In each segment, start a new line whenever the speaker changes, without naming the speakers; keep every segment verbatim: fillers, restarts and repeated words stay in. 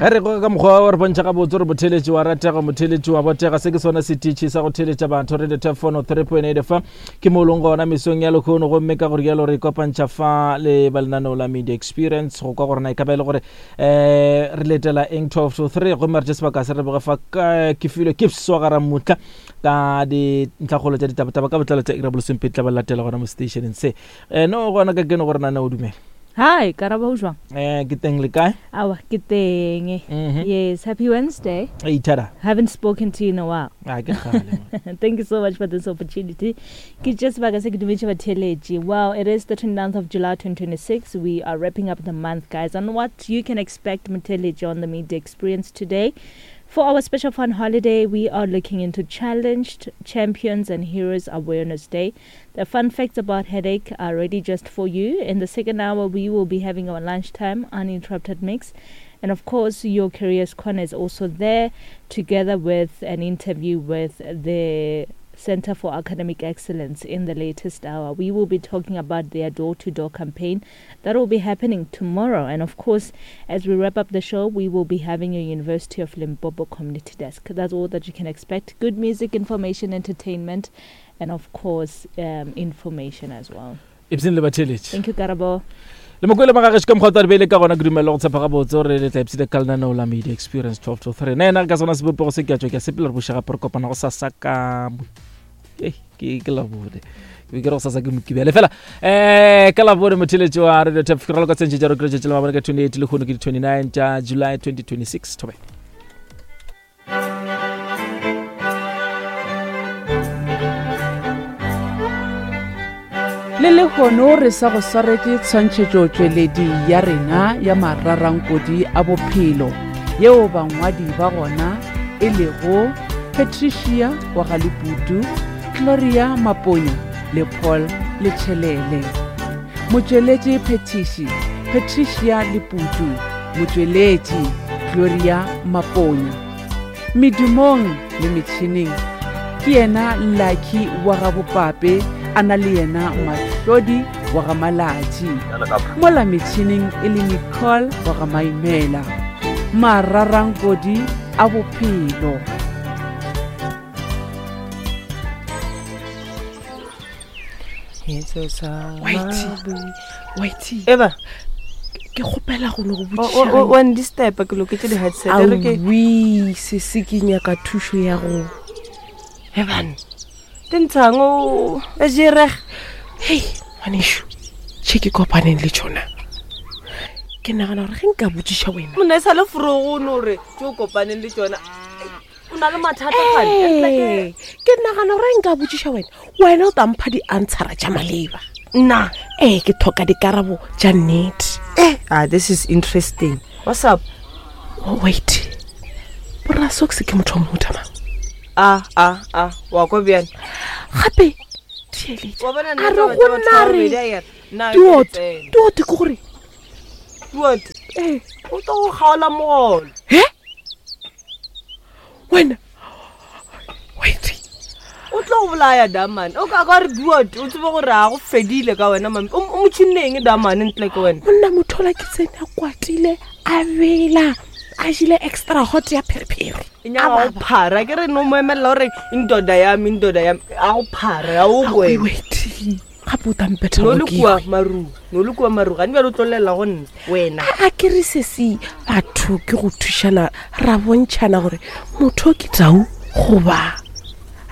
Ge re go ka mokgwa wa re bontšha gabotse gore motheletši wa ratega, motheletši wa botega. Se ke sona setiši sa go theletša batho Radio Turf one oh three point eight F M. Ke mo leng gona mesong ya lekgono, gomme ka gore jalo re ikopantšha fa le ba lenaneo la Media Experience go kwa gore na e ka ba e le gore um re letela eng twelve to three, gomme re tše sebaka se re boge fa ka ke filwe ke swagara mutla ka dintlhakgolo tša ditabataba ka botlalo tša iri ya bolesomepedi tla ba latela gona mo stationeng se. Um no gona ka keno gore nane o dumela.
Hi, Karabo, o jwang?
Eh, ke teng le kae?
Awa, ke teng.
Mhm.
Yes, happy Wednesday.
Hey, Thada.
Haven't spoken to you in a while.
Ah, ke kgale, man.
Thank you so much for this opportunity. Ke just sebaka se ke dumetse batheeletši. Well, it is the twenty-ninth of July twenty twenty-six. We are wrapping up the month, guys. And what you can expect motheeletši on the Media Experience today. For our special fun holiday, we are looking into Challenged Champions and Heroes Awareness Day. The fun facts about headache are ready just for you. In the second hour, we will be having our lunchtime uninterrupted mix. And of course, your Careers Corner is also there, together with an interview with the Center for Academic Excellence in the latest hour. We will be talking about their door-to-door campaign that will be happening tomorrow. And of course, as we wrap up the show, we will be having a University of Limpopo community desk. That's all that you can expect. Good music, information, entertainment, and of course, um, information as well.
Ipseng le batheeletši.
Thank you, Karabo.
Le mokwele magagešo ka mokgwa o tla re beile ka gona, ke dumela go tshepa gabotse gore le tla ipshina ka lenaneo la Media Experience twelve to three. Nna yena ka sona sebopego se ke a tšwa ke a sepela re buša gape re kopana go sasa ka mo-, Ei, ke, ke Labone. Ke be ke re go sasa ke Mokibelo. Fela, eh, ka Labone motheeletši wa Radio Turf, ke raloka tsentše tša re kry-e tšatši la mabone ka twenty-eight, lehono ke di twenty-nine tša July twenty twenty-six. Thobela.
Le lehono re sa go swaretše tshwantšhetšotšweledi ya rena ya mararankodi a bophelo, yeo bangwadi ba gona e lego Patricia wa ga Leputu, Gloria Maponya le Paul Letšhelele. Motšweletši Phetiši Patricia Leputu, motšweletši Gloria Maponya. Medumong le metšhineng ke yena Lucky wa ga Bopape, a na le yena Mahlodi wa ga Malatši. Mola metšhineng e le Nicole wa ga Maimela. Mararankodi a bophelo.
Whitey, Whitey.
Eba.
Ke kgopela go no go
O,
botšiša
o, o,
ge-
wa ndisturba, ke loketše di-headset, e re ke-
Aowi, sese ke nyaka thušo ya go.
Ebane, te ntshang o, e jereg.
Hei, ngwanešu, tše ke kopaneng le tšona. Ke nagana gore ge nka botšiša wena.
Monna e sa le forogo o no re tše o kopaneng le tšona. O na le mathata kgane.
Ee, ke nagana gore nka botšiša wena, wena o tla mpha di-answera tša maleba.
Nna?
Ee, ke tlhoka dikarabo tša nnete.
Eh, ah, this is interesting. What's up?
Oh, wait. Borra Socks ke motho wa mohuta mang?
Ah, ah, ah, wa kwa bjang?
Gape, theeletša.
Wa bona nna
A re
taba
go
tša batho
nna
ba
re
babedi a ere, nna ke
Duot,
tsena.
duot ke gore?
Duot?
Eh.
O tlo go kgaola mogolo.
He? Wena? Wait.
O tlo go bolaya Damane. O ka ka re duot, o tsebe gore a go fedile ka wena, mami. O, o motšhineng Damane ntle ke wena.
Monna motho ola ke tsene a kwatile, a bela, a jele extra hot ya pherephere.
E nyaka go phara, ke re no mo emella gore indoda ya me, indoda ya me, a go phara, a o
Aowi,
kwe.
wait. Gape o tla mpetha
No le
gore ke
kua
kwe.
maru, no le kua maru, gane bjale o tlo llela go nna, wena.
A, a ke re sesi, batho ke go thušana, ra bontšhana gore motho ke tau goba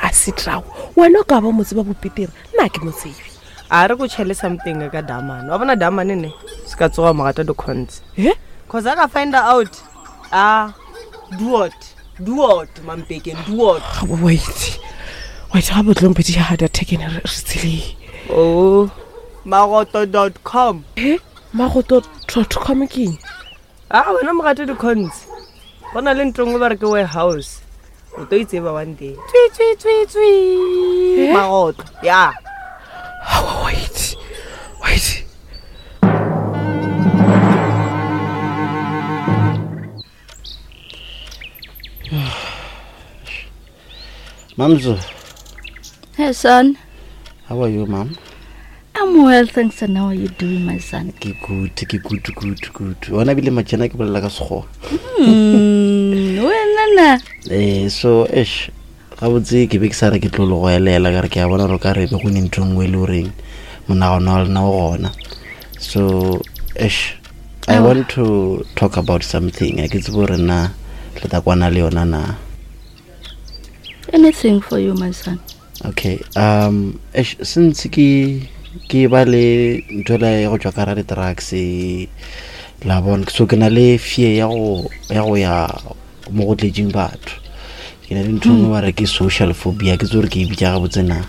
a se tau. Wena o ka ba mo tseba bopetere, nna ke mo tsebe.
A re go tšhele something ka Damane. Wa bona Damane ne, se ka tsoga mogata di-cons.
Eh?
Cause I ka find out, ah, duot, duot, mampekeng, duot.
Ga, wait. Wait, ga botlong pedi ya heart attack ene re, re tseleng.
Oh, magoto dot com.
Eh? Magoto dot com ke eng?
Ah, wena mogata di-cons. Go na le ntho nngwe ba re ke warehouse. O tlo itseba one day. Tswi, tswi, tswi, tswi.
Eh?
Magoto, ya.
Oh, wait. Wait.
Mamzo.
Hey, son.
How are you, ma'am?
I'm well, thanks. And how are you doing, my son?
Ke good, ke good, good, good. Wena bile majena ke bolela ka Sekgowa.
Mm, wena na
Eh so eish gabotse ke be ke sa re ke tlo le go elela ka re ke a bona gore ka re be go ne ntho e nngwe e le goreng monagano wa lena o gona. So eish I want to talk about something. A ke tsebe gore na le tla kwana le yona na.
Anything for you, my son.
Okay. Um eish since ke ke ba le ntho ela ya go tšwa ka ra di-drugs la bona so ke na le fear ya go ya go ya mo go tletseng batho. Ke na le ntho e nngwe ba re ke social phobia, ke tse gore ke e bitša gabotse na.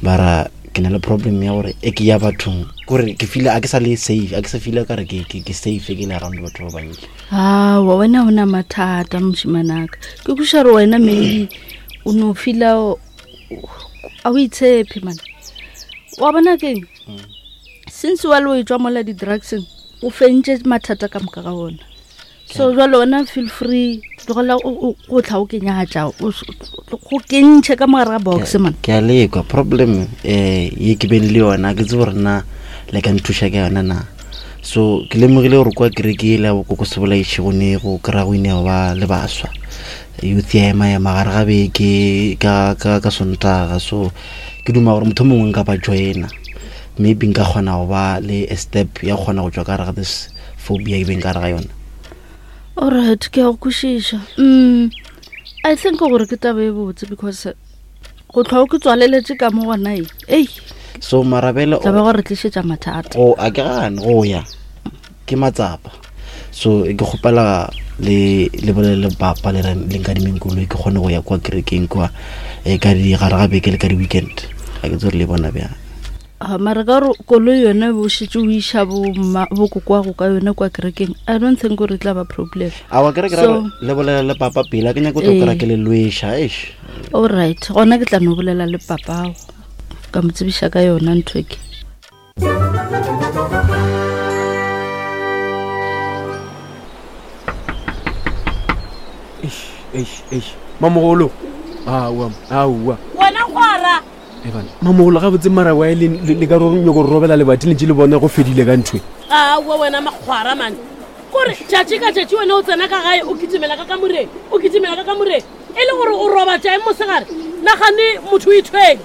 Mara ke na le problem ya gore e ke ya bathong kore ke feel a ke sa le safe, a ke sa feel ka re ke ke ke safe ke le around batho ba bantši.
Aowa, wena o na mathata mošimanaka. Ke kweša gore wena maybe o no feela o a o itshepe man. Wa bona keng? Since wa le o etswa mola di-drugseng, o fentše mathata ka moka ga ona. So jwale wena feel free, tlogela o go tla o kenyatša, o go kentšhe ka mogare ga box man.
Ke a lekwa problem eh ye ke beng le yona, ke tsebe gore na le ka nthuša ka yona na. So ke lemogile gore kwa kereke ele ya bokoko se bolaiše go ne go kry-a go ine ba le baswa. Youth ya ema ema gare ga beke ka ka ka Sontaga. So ke duma gore motho mongwe nka ba joina. Maybe nka kgona go ba le a step ya go kgona go tšwa ka gare ga this phobia e beng ka gare ga yona.
Alright, ke a go kwešiša. Mm, I think gore ke taba e botse because go tlhwa o ke tswaleletse ka mo gona e. Ei.
So marabele
taba go re tlišetša mathata.
Go a ke gane go ya ke matsapa. So ke kgopela le le bolele le papa le re le nkadimeng koloi ke kgone go ya kwa kerekeng kwa e ka di gare ga beke le ka di weekend. Ga ke tse gore le bona bjang.
Ah, mara ka gore koloi yone bo šetše o iša bo kokwago ka yone kwa kerekeng, I don't think gore e tla ba problem.
Aowa, ke re ke ra le bolela le papa pele, a ke nyake go tlo kry-a ke le lweša, eish.
Alright, gona ke tla no bolela le papago ka mo tsebiša ka yona ntho e ke.
Eish, eish, eish. Mamogolo. Aowa, aowa.
Wena gwara.
Evan, mamogolo ga botse mara wa le le ka re nyoko robela lebati le ntše le bona go fedile ka ntho.
Aowa wena makgwara man. Kore tšatši ka tšatši wena o tsena ka gae o kitimela ka kamoreng, o kitimela ka kamoreng. E le gore o roba tša eng mosegare? Nagane motho o ithwele.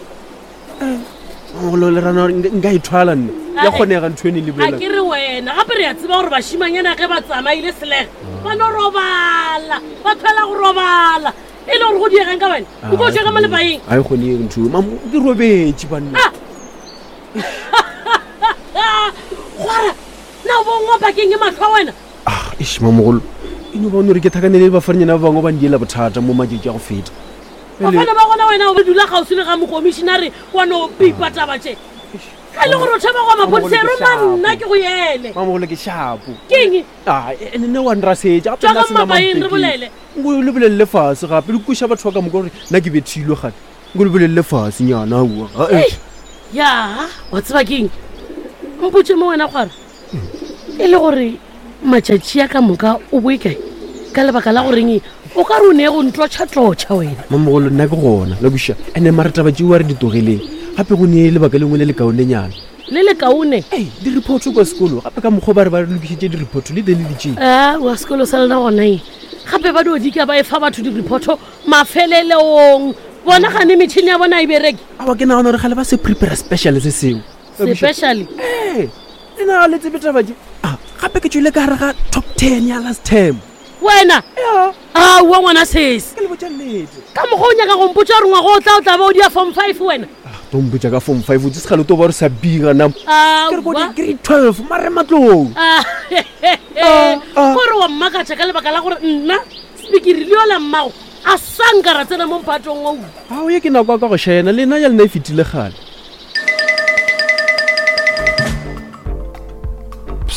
Mamogolo le rana nka ithwala nna. Ya kgonega ntho ene le bolela.
A ke re wena, gape re a tseba gore bašimanyana ge ba tsamaile selege, ba no robala, ba thwela go robala. E le gore go diegang ka wena? Nko o tšwe ka mo lepaeng.
A e kgonege ntho. Mamo ke robetše banna.
Gwara, na o bo ngwa pakeng e matlho a wena?
Ah, eish mamogolo. E no bona gore ke thakanele le bafaranyana ba bangwe ba ndiela bothata mo matšatši a go feta.
Bafana ba gona wena o dula kgauswi le ga mokomišinare wa no pipa taba tše. Ga e le gore o tšhaba go maphodisa e roma nna ke go ele.
Mamogolo ke shapo.
Keng?
Ah, ene nne wa nrasetša gape
Tšwa
nna
ka
sena
mapaeng re
mampekeng.
bolele.
Nko le bolelele fase gape le kweša batho ba ka moka gore nna ke bethilwe gane. Nko le bolelele fase nyana aowa. Ah, eh.
Ei, ya, wa tseba keng? Mpotše mo wena gwara. E le gore matšatši a ka moka o boe kae? Ka lebaka la goreng o ka re o ne go ntlotšha-tlotšha wena.
Mamogolo nna ke gona, la kweša. Ene mara taba tšeo a re di tlogeleng. Gape go ne lebaka lengwe le lekaonenyana.
Le lekaone?
Ei, di-report kwa sekolo. Gape ka mokgwa ba re ba re lokišitše di-report le teng le di tšee.
Ah, wa sekolo sa lena gona eng? Gape ba dio dika ba e fa batho di-report mafeleleong. Bona gane metšhini ya bona e bereke.
Aowa, ke nagana gore gale ba se prepare special se sengwe.
Special?
Ee, le na le tsebe taba tše. Ah, gape ke tšwele ka gare ga top ten ya last term.
Wena?
Ya.
Aowa ngwana sesi.
Ke le botša nnete.
Ka mokgwa o nyaka go mpotša gore ngwaga o tla o tla ba o dia form five wena?
Ah, to mpotša ka form five, o tse sekgale o to ba re sa biga na. Ke re ko
Aowa.
di grade twelve, mare matlong.
Ah,
ah.
Kore wa mmakatša ka lebaka la gore nna spikiri le yola mmago a sa nka ra tsena mo mphatong oo.
Ao, ye ke nako ya ka go šena, le nna ya lena e fetile kgale.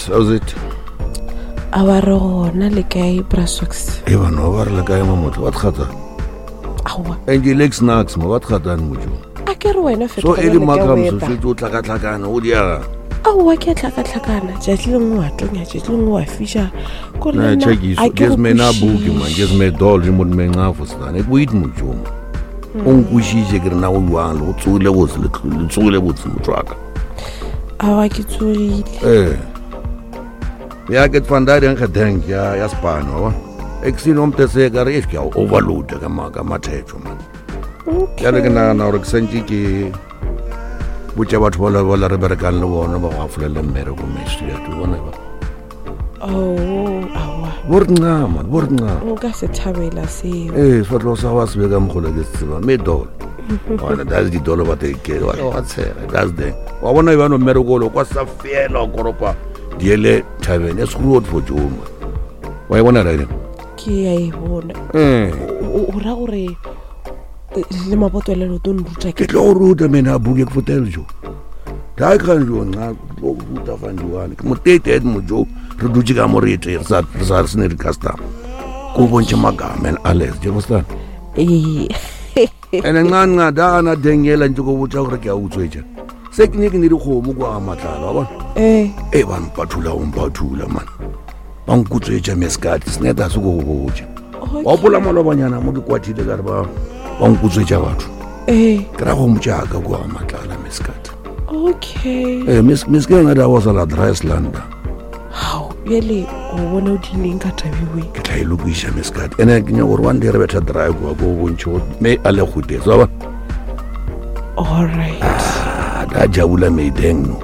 How's it?
A wa re gona le kae, Bra Socks?
E bana, ba re le kae mamotlo, ba tkgata?
Aowa.
And ke lex snacks mo ba tkgatang motho.
A ke re wena
So
fetoga
e le
bjale ka
makam so
wepa.
šetše o tlhakatlhakana o diega.
Aowa, ke a tlhakatlhakana. Tšatši lengwe wa tonya, tšatši lengwe wa fiša. Kore
Na
le nna
check iso.
a ke
Just
go
me na buki man,
kwešiše.
just me doll re mo me ngafo stan. E kuit motho mo. O nkwešiše ke re na go jwang le go tsogile botse le le tsogile botse motho wa ka.
Aowa, ke tsogile.
Eh. Ya ke van daar en gedenk ja ja span hoor. Exin omte se ka re ke a overload ka ma ka mathetho man. Jale ke nagana gore ke santse ke botša batho ba le ba re berekang le bona ba go afolele mmereko mesriat o bona ba.
Oh, aowa.
Bo re nca man, bo re nca.
Nka se thabela seo.
Ee, sefatlhego sa gago a se be ka mokgolo ke se tseba mme dolo. Bona that's di dolo ba te ke wa wa tshega that's the. Wa bona e bano mmereko lo kwa sa fela o koropa diele thabeng e screwed for Joe man. Wa e bona right?
Ke a e bona.
Eh.
O o ra gore eh, le maboto le lo to nruta
Ke tlo go ruta mena buke ke fotele jo. Dai kan jo nna ke tlo go ruta fa ndiwane. Ke motete ed mo jo re dutse ka mo re ete re sa re sa re sene di customer. Ko bontšhe magama and Alex, je understand?
Ee.
Ene nca nca da ana dengela ntse go botsa gore ke a utswetša. Se ke ne ke ne dikgomo kwa ga matlala wa bona.
Eh.
E ba mpathula o mpathula man. Ba nkutswetša meskati seneta se go go botša. Wa gopola malobanyana mo ke kwathile ka re ba ba nkutswetša batho.
Eh.
Ke ra go motšaka kwa ga matlala meskati.
Okay.
Eh mes meske nga da was la Dryslanda.
Hao, bjale o bona o dineng ka tabiwe.
Ke tla e lokiša meskati. Ene ke nyaka gore one day re betha dry kwa ko bontšhe gore me a le gute. So ba.
All right.
Ah, da jabula meideng no.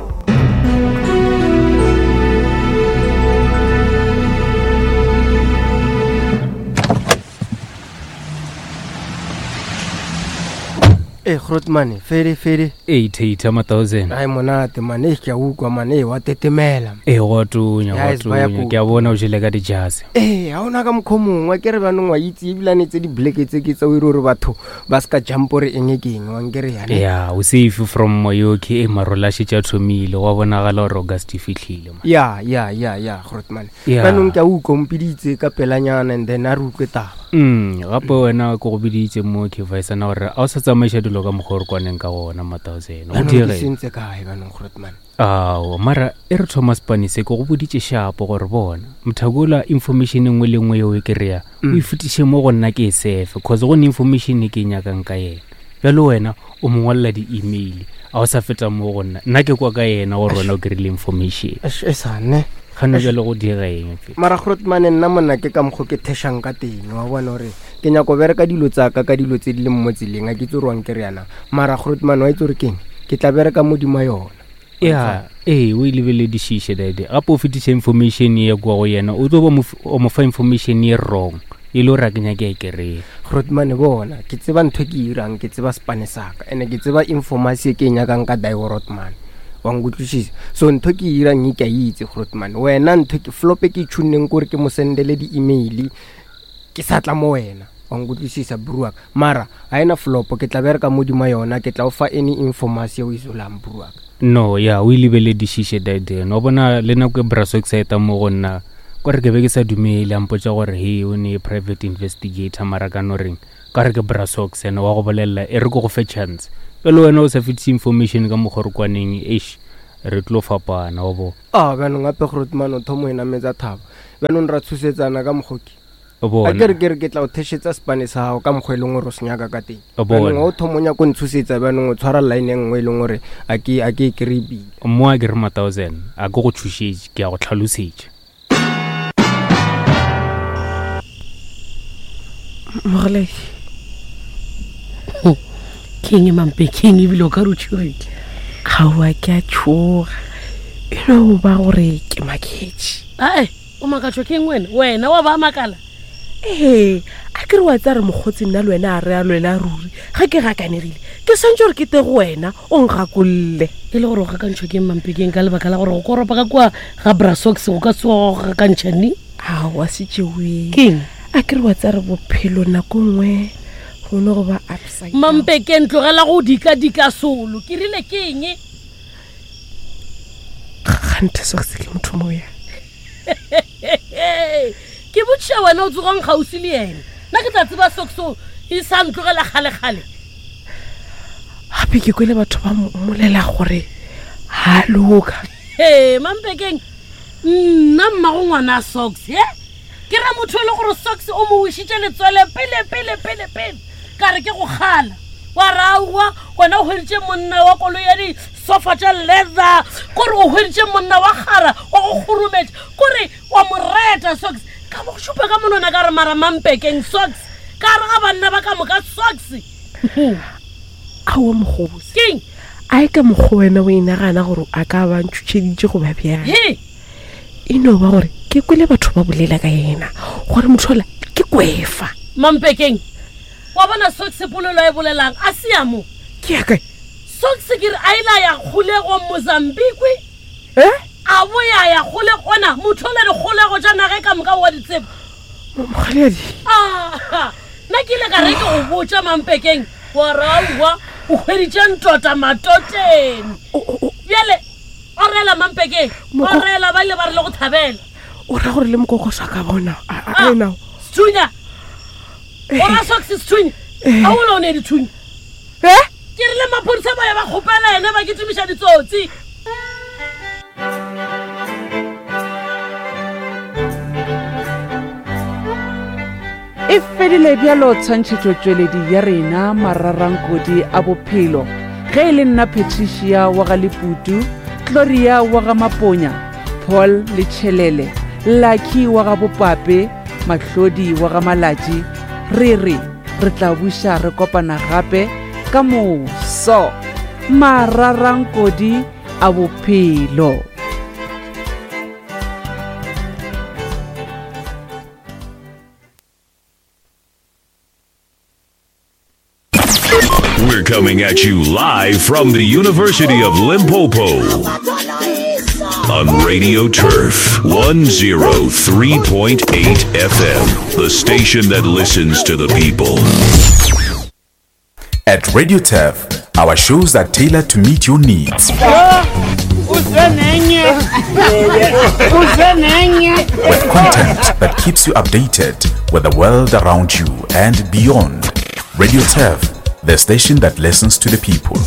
e grootmane fede fede
ee theitha ma thousand
ai monate mane ke a utlwa mane wa tetemela
ee go a tonya go a
Guys, ba ya
tonya
ko-
ke a bona o jele ka dijase
ee ga ona ka mokgwa o mongwe ke re banong wa itse ebilane tse di-blake tse ke tsa o ire gore batho ba se ka jump ore eng e ke eng wankere yane
ya o safe from moyoki e marola a šetše a thomile go a bonagala gore august e fitlhile man.
ya ya ya ya grootman
Ya.
banong ke a utlwa o mpiditse ka pelanyana and then a re utlwe taba
mm gape wena ke go biditse mo ke visana gore a o sa tsamaiša dilo ka mokgwa o re kwaneng ka gona ma thousand go
Banong ke
dire
sentse kae banong grootman
ao mara e re thoma spanise ke go boditše shapo gore bona mothakola information e nngwe le nngwe yeo e kry-a o e fetiše mo go nna ke e sefe cause go ne information e ke e nyakang ka yena bjalo wena o mo ngwalela di-email a o sa feta mo go nna nna ke kwa ka yena gore wena o kry-ile information
Eish, e sane
gane bjale go dira eng fe
mara grootman nna monna ke ka mokgwa ke thešang ka teng wa bona gore ke nyako bereka dilo tsaka ka dilo tse di leng mo tseleng a ke itse gore wa nkere yana mara grootman wa itse gore keng ke tla bereka modimo yona
ya ee o e lebeledišiše dade gape o fetiša information ye kwa go yena o tlo ba mo f- o mo fa information ye wrong e le gore a ke nyake e kry-e
grootman bona ke tseba ntho e ke irang ke tseba sepane saka and ke tseba information e ke e nyakang ka diorotman wa nkutlwisisa so ntho ke e irang e ke a itse grootman wena ntho ke flop e ke e tšhunneng kore ke mo sendele di-email ke sa tla mo wena wa nkutlwisisa bruak mara ga ena flop ke tla bereka modimo yona ke tla o fa any information o e zolang bruak
no ya o e lebeledišiše daden wa bona le nako e braso excita mo go nna kore ke be ke sa dumele a mpotsa gore he o ne private investigator mara ka no reng ka re ke brasox ene wa go bolelela e re ke go fe chance pele wena o sa fetise information ka mokgwa re kwaneng eish re tlo fapana wa bo
a bjanong gape grootman o thomo e nametsa thaba bjanong ra tshosetsana ka mokgoki
o
a ke re
bona
ke re ke tla o thešetsa sepane sa gago ka mokgwa e leng gore o se nyaka ka teng
O bona.
bjanong ga o thomo o nyako ntshosetsa bjanong o tshwara line e nngwe e leng gore a ke a ke e kry-e pila
mo a ke re ma thousand a ke go tshošetše ke a go tlhalosetša
Mogoledi.
ke eng mampe ke eng ebile o ka re o tšhogile
Aowa ke a tšhoga. E no ba gore ke maketše.
ae o makatšwa ke eng wena wena wa ba makala
Ee, a ke re wa tsa re mokgotsi nna le wena a re a lwela ruri ga ke gakanegile ke swantse gore ke te go wena o nkgakolle
e le gore o gakantšhwa ke eng mampekeng ka lebaka la gore go koropa ka kua ga brasox go ka tsoga go gakantšha neng
aowa se tšeoeng
ke eng
a ke re wa tsa re bophelo nako nngwe go ne go ba upside down.
mampekeng tlogela go dika-dika solo ke rile ke eng
kganthe sox ke motho mo ya
ke botšiša wena o tsogang gausi le ena nna ke tla tseba soxo e sa ntlogela kgale-kgale
gape ke kwele batho ba mmolela gore ga a loka
ee mampekeng nna mmago ngwana a socks e ke ra motho e le gore socks o mo wišitše letswele pele pele pele pele ka re ke go kgala wa raua wena o hweditše monna wa koloi ya disofa tša leather kore o hweditše monna wa kgara wa go kgurumetša kore wa mo reta socks Ka bo go šupa ka monwana ka re mara mampekeng socks ka re ga banna ba ka moka socks.
Aowa mokgosi.
Keng?
A e ka mokgwa wena o inagana gore a ka ba ntšhutšheditše goba bjang?
He.
E no ba gore ke kwele batho ba bolela ka yena gore motho ola ke kwefa.
Mampekeng, wa bona socks polelo e bolelang a se ya mo.
Ke ya kae?
Socks ke re a ile a ya kgolegong Mozambique.
Eh?
A boya ya kgolego ona motho ola dikgolego tša naga ka moka wa di tseba.
Mokgaledi.
Ah, nna ke ile ka re ke go botša mampekeng wa re aowa o hweditše ntota matoteng. Bjale orela mampekeng, orela ba ile ba re le go thabela.
O ra gore le mokokoso a ka bona a ena.
Sethunya. O ra socks sethunya. A o le o ne dithunya.
Eh?
Ke rile maphodisa ba ya ba kgopela ene ba kitimiša ditsotsi.
E fedile bjalo tshwantšhetšotšweledi ya rena mararankodi a bophelo. Ge e le nna Patricia wa ga Leputu, Gloria wa ga Maponya, Paul le Tšhelele, Lucky wa ga Bopape, Mahlodi wa ga Malatši, re re re tla buša re kopana gape ka moso. Mararankodi a bophelo.
We're coming at you live from the University of Limpopo on Radio Turf one oh three point eight F M, the station that listens to the people.
At Radio Turf, our shows are tailored to meet your needs. With content that keeps you updated with the world around you and beyond. Radio Turf, the station that listens to the people.